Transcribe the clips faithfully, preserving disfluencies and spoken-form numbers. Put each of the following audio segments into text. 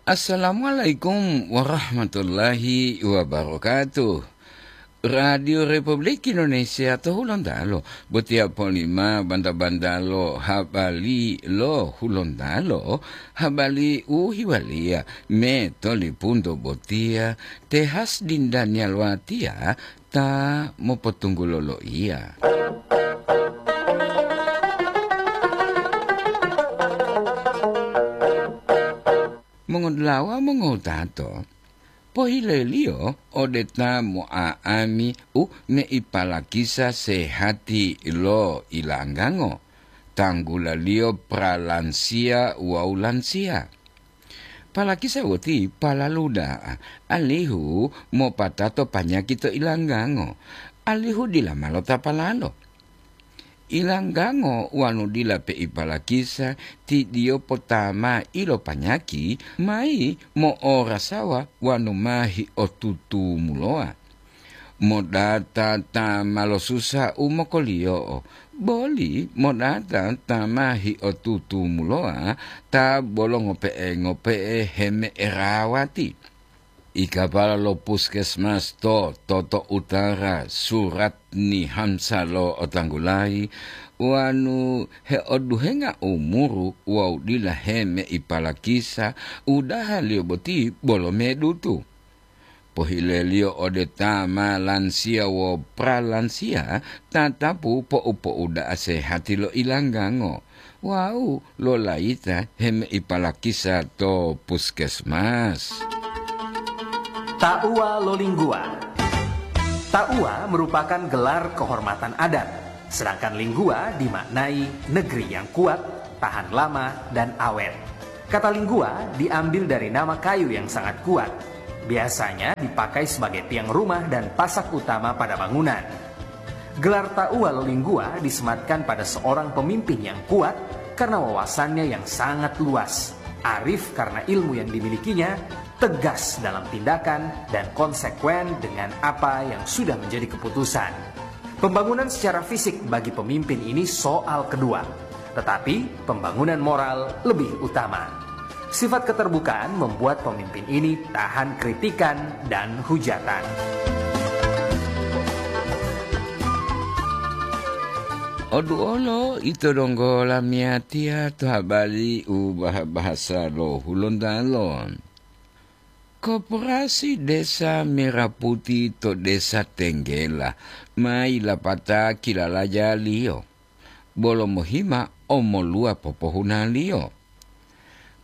Assalamualaikum warahmatullahi wabarakatuh. Radio Republik Indonesia to Hulontalo, botiya polima banta-bantalo habari lo Hulontalo, habari u hiwaliya me to lipunto botiya, te Hasdin Daniel Watiya ta mopotunggulo loiya. Mongodulawa mongowutato, pohileliyo ode ta mo'a'ami u meipalakisa sehati lo ilanggango, tanggulaliyo pralansiya wawu lansiya. Palakisa boti palalu da'a, alihu mopatato panyaki to ilanggango, alihu dila ma lotapalalo. Ilanggango wanu dila peipalakisa, ti diyo potama ilopanyaki mayi mo'orasawa wanu ma hiotutumulowa. Modata ta ma losusa u mokoliyo'o, boli modata ta ma hiotutumulowa ta bolo ngope'e-ngope'e heme'erawati. Ikapala lo puskesmas to Toto Utara, Suratni Hamsa lo otanggulayi, wanu heoduhenga umuru wawu dila hemeipalakisa, udahaliyo boti bolo medutu. Pohileliyo ode ta ma lansiya wo pralansiya, tatapu po'u-po'uda'a sehati lo ilanggango wawu lolayita hemeipalakisa to puskesmas. Tauwa lo Lingguwa. Tauwa merupakan gelar kehormatan adat, sedangkan Lingguwa dimaknai negeri yang kuat, tahan lama, dan awet. Kata Lingguwa diambil dari nama kayu yang sangat kuat. Biasanya dipakai sebagai tiang rumah dan pasak utama pada bangunan. Gelar Tauwa lo Lingguwa disematkan pada seorang pemimpin yang kuat karena wawasannya yang sangat luas, arif karena ilmu yang dimilikinya, tegas dalam tindakan, dan konsekuen dengan apa yang sudah menjadi keputusan. Pembangunan secara fisik bagi pemimpin ini soal kedua, tetapi pembangunan moral lebih utama. Sifat keterbukaan membuat pemimpin ini tahan kritikan dan hujatan. Oduolo ito donggo lamiyatiya to habari u bah-, bahasa lo Hulontalo. Koperasi Desa Merah Putih to Desa Tenggela ma yilapata kilalajaliyo, bolo mohima omoluwa popohunaliyo.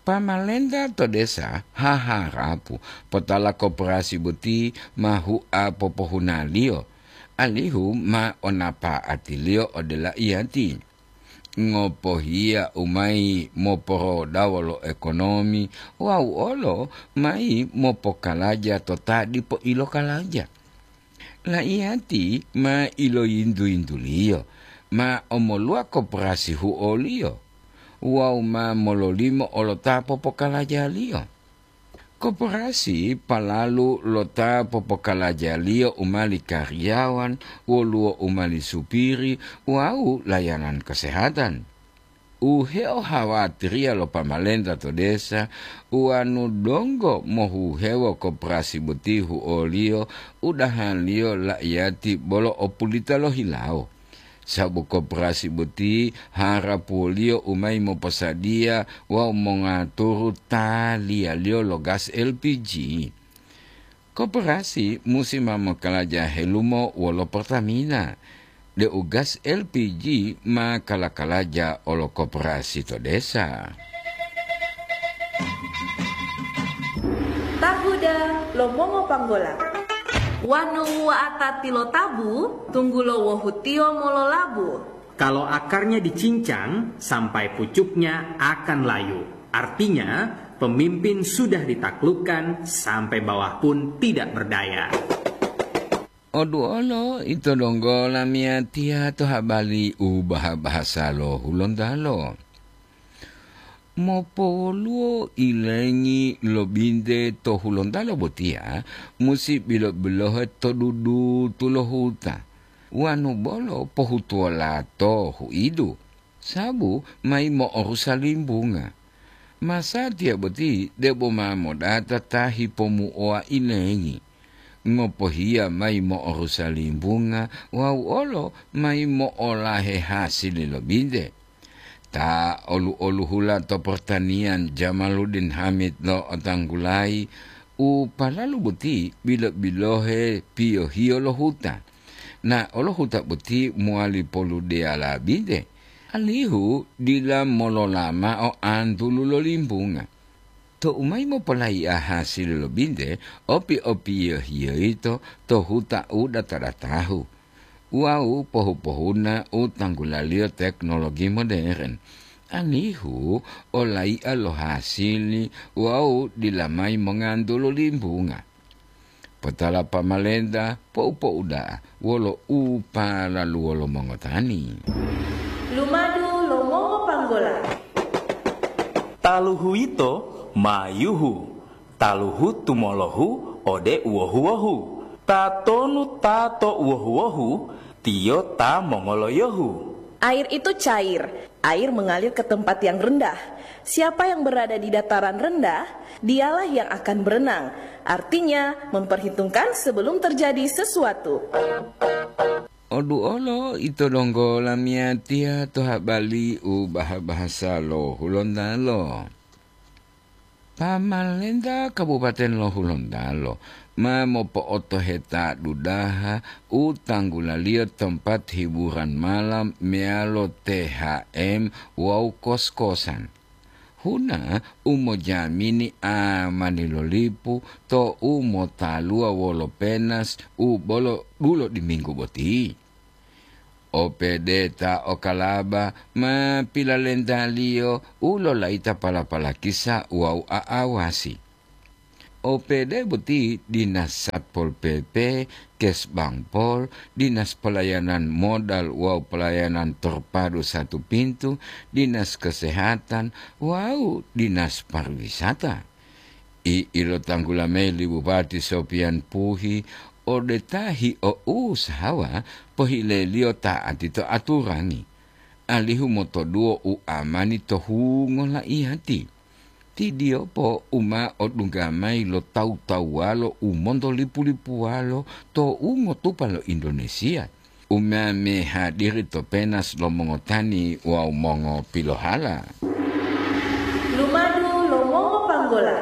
Pamalenta to desa haharapu potala koperasi boti ma hua popohunaliyo, alihu ma onapa'atiliyo ode laiyati. Ngopohiya u mayi moporodawo lo ekonomi wawu olo mayi mopokalaja to ta dipo ilokalaja. Laiyati ma iloyintu-yintuliyo, ma omoluwa koperasi huoliyo wawu ma mololimo olo ta popokalajaliyo. Koperasi palalu lo ta popokalajaliyo u mali kariyawan, woluwo u mali supiri wawu layanan kesehatan. U heohawatiriya lo pamalenta to desa, uwanu donggo mohuhewo koperasi boti huoliyo, udahaliyo laiyati bolo opulita lohilawo. Sabu koperasi boti harapuwoliyo u mayi moposadiya wawu mongaturu taliyaliyo lo gas L P G. Koperasi musi ma mokalaja helumo wolo Pertamina, deu gas L P G ma kala-kalaja olo koperasi to desa. Tahuda lo mongo panggola. Wanu wa'ata tilotabu, tunggulo wohutiyo mololabu. Kalau akarnya dicincang, sampai pucuknya akan layu. Artinya, pemimpin sudah ditaklukkan sampai bawah pun tidak berdaya. Oduolo ito donggo lamiyatiya to habari u baha-bahasa lo Hulontalo. Mopowoluwo ilengi lo binte to Hulontalo botiya musi bilo-bilohe to dudutu lo huta, wanu bolo pohutuwola to huidu, sabu mayi mo'orusa limbunga. Masatiya boti debo ma modata ta hipomuowa ilengi, ngopohiya mayi mo'orusa limbunga wawu olo mayi mo'olahe hasili lo binte. Ta olu-oluhula to portaniyan Jamaluddin Hamid lo otanggulayi u palalu boti bilo-bilohe piyohiyo lo huta. Na olo huta boti mowali poludeyala binte, alihu dila molola mao antulu lo limbunga. Tou mayi mopolayi'a hasili lo binte, opi-opiyohiyo yito to huta u data-datahu wawu pohu-pohuna u tanggulaliyo teknologi moderen, alihu olayi'a lo hasili wawu dila mayi mongantulu limbunga. Potala pamalenta pou-pou da'a wolo u palaluwo lo mongotani. Lumadu lo mongopanggola. Taluhu yito ma yuhu, taluhu tumolohu ode uwohu-wohu. Tatonu ta to uwohu-wohu, tiyo ta mongoloyohu. Air itu cair, air mengalir ke tempat yang rendah. Siapa yang berada di dataran rendah, dialah yang akan berenang. Artinya, memperhitungkan sebelum terjadi sesuatu. Odu olo ito donggo lamiyatiya to habali u baha-bahasa lo Hulontalo. Pamalenta Kabupaten lo Hulontalo ma mopo'otoheta dudaha u tanggulaliyo tempat hiburan malam meyalo T H M wawu kos-kosan. Huna u mojamini amani lo lipu to u motaluwa wolo penas u bolo dulo diminggu boti. O P D ta o Kalaba ma pilalentaliyo u lolayita pala-palakisa wawu a'awasi. O P D boti Dinas Satpol P P, Kesbangpol, Dinas Pelayanan Modal wawu Pelayanan Terpadu Satu Pintu, Dinas Kesehatan, wawu Dinas Pariwisata. I ilotanggula mayi li Bupati Sopian Puhi ode ta hio'usahawa pohileliyo ta'ati to aturangi, alihu motoduwo u amani to hungo laiyati. Tidiyopo u ma odungga mayi lo tawu-tawuwalo u montolipu-lipuwalo to ungotupa lo Indonesia, u ma mehadiri to penas lo mongotani wawu mongopilohala. Lumadu lo mongopanggola.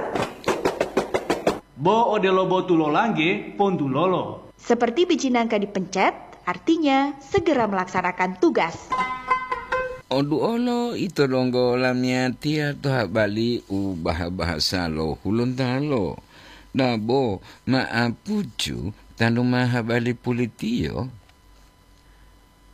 Bo odelo botu lo langge, pontulolo. Seperti biji nangka dipencet, artinya segera melaksanakan tugas. Odu olo ito donggo lamiyatiya to habali u baha-bahasa lo Hulontalo. Dabo ma'apucu tanu ma habali pulitiyo.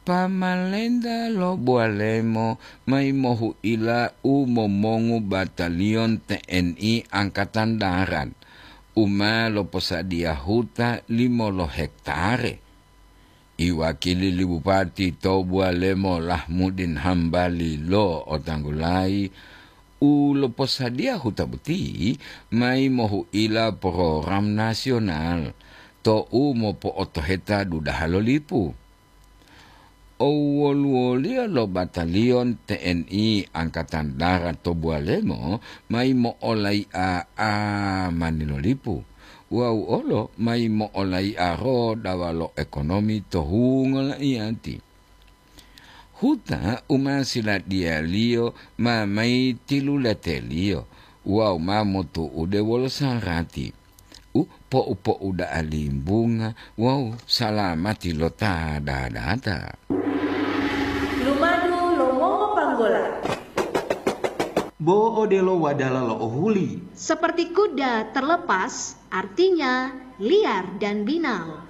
Pamalenta lo Bualemo mayi mohu'ila u momongu bataliyon T N I Angkatan Darat u ma loposadiya huta limo lo hektare. Iwakili li Bupati to Bualemo Lahmudin Hambali lo otanggulayi u loposadiya huta boti mayi mohu'ila program nasional to u mopo'otoheta dudaha lo lipu. Owoluwoliyo lo bataliyon T N I Angkatan Darat to Bualemo mayi mo'olai'a amani lo lipu wawu olo mayi mo'olai'a rodawa lo ekonomi to hungo laiyati. Huta u ma siladiyaliyo ma mayi tilulateliyo wawu ma motu'ude wolo sarati u po'u-po'u da'a limbunga wawu salamati lo ta dadata. Lumadu lo mongopanggola. Bo odelo wadala lo ohuli. Seperti kuda terlepas, artinya liar dan binal.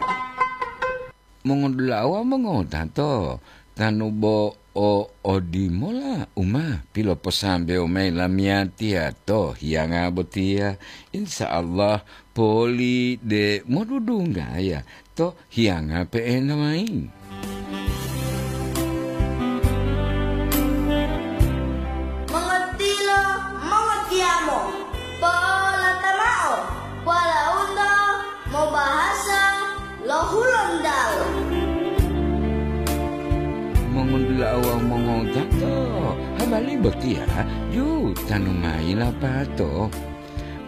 Mongodula'a wawu mongotato, tanu bo o odimola u ma piloposambewo mayi lamiyatiya to hiyanga botiya, insya Allah poli de modudunggaya to hiyanga pe'enta mayi. Mongotilo, mongotiyamo, po'olata mao, po'olaunto mobahasa lo Hulontalo. Mongondula'a wawu mongotato, habari Botiya jutanu mayi lapato.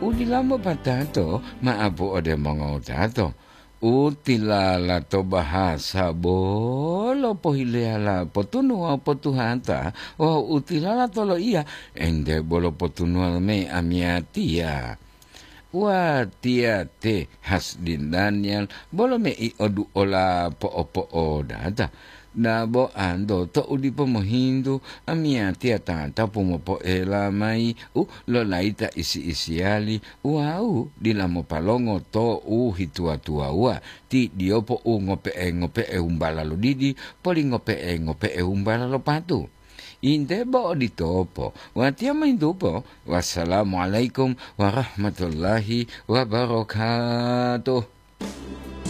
Udilamo patato ma'apu ode mongowutato. Utilala to bahasa bolo pohileyala potunuwa potuhata wawu utilala to loiya ente bolo potunuwa me amiyatiya. Watiya te Hasdin Daniel bolo mei oduola po'opo'odata. Dabo anto to'u dipo mohintu, amiyatiya tatapu mopoela mayi u lolayita isi-isiyali wawu dila mopalongo to u hituwa-tuwawuwa, ti diyopo u ngope'e-ngope'e umbala lo didi, poli ngope'e-ngope'e umbala lo patu. Inte bo oditopo, watiya mohintupo, "Wassalamualaikum warahmatullahi wabarakatuh."